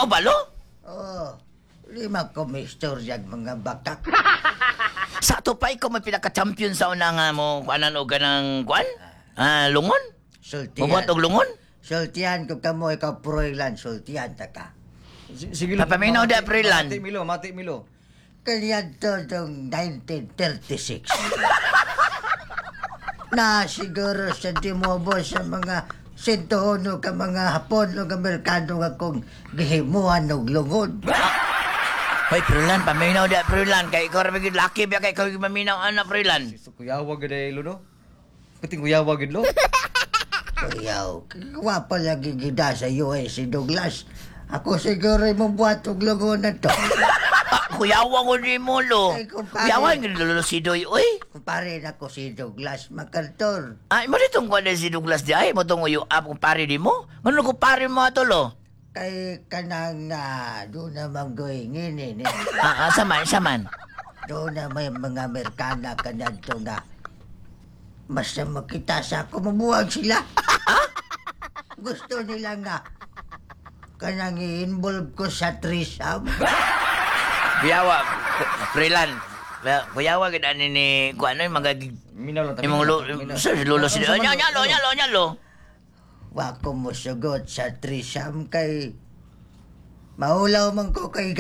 ba, lo? Oh, lima ko may istoryag mga bakak. Sa ato pa, ikaw may pinaka-champion sa una nga mo, kuanan o ganang kuan? Ah, lungon? Sultian. Mabuhat og lungon? Sultian ko kamo, ikaw Froilan, sultian ta ka. Sige lo. Papaminaw da, Freeland. Mati Milo, mati Milo. Kaniadto tong 1936. Na siguro sa dimobo sa mga 101 ka mga Hapon o Amerikano nga kung gihimuan og lungod. Hoy, Freeland, paminaw da, Freeland. Kay ikaw rin laki ba kay ikaw yung maminaw, ana, Freeland? So, kuyawa gid ay lo no. Puting kuyawa gid lo. Kuyaw, gwapa lagi gida sa US si Douglas. Ako siguro mabuhat og lungod na to. Ah, kuyawa ko ni mo, lo. Ay, kumpare. Kuyawa, yung lolo si Doy, uy. Kumpare na ko si Douglas MacArthur. Ay, mo ditong kuwan si Douglas di ay, mo tong uyo up kumpare di mo. Ngano kumpare mo ato, lo? Kay kanang doon naman goy ngini ni. Ah, ah, saman, saman. Doon na may mga Amerikana kanadto nga. Basta makita sa ako, mabuwag sila. Gusto nila nga kanang i-involve ko sa threesome. Kuyawa, Freeland. Kuyawa gid ani ni kuan ano yung mga Minaw lang ta. imong lo, sa lolo si Ano, Nya nya lo, nya lo, nya lo. Wa ko mosugot sa threesome kay maulaw man ko kay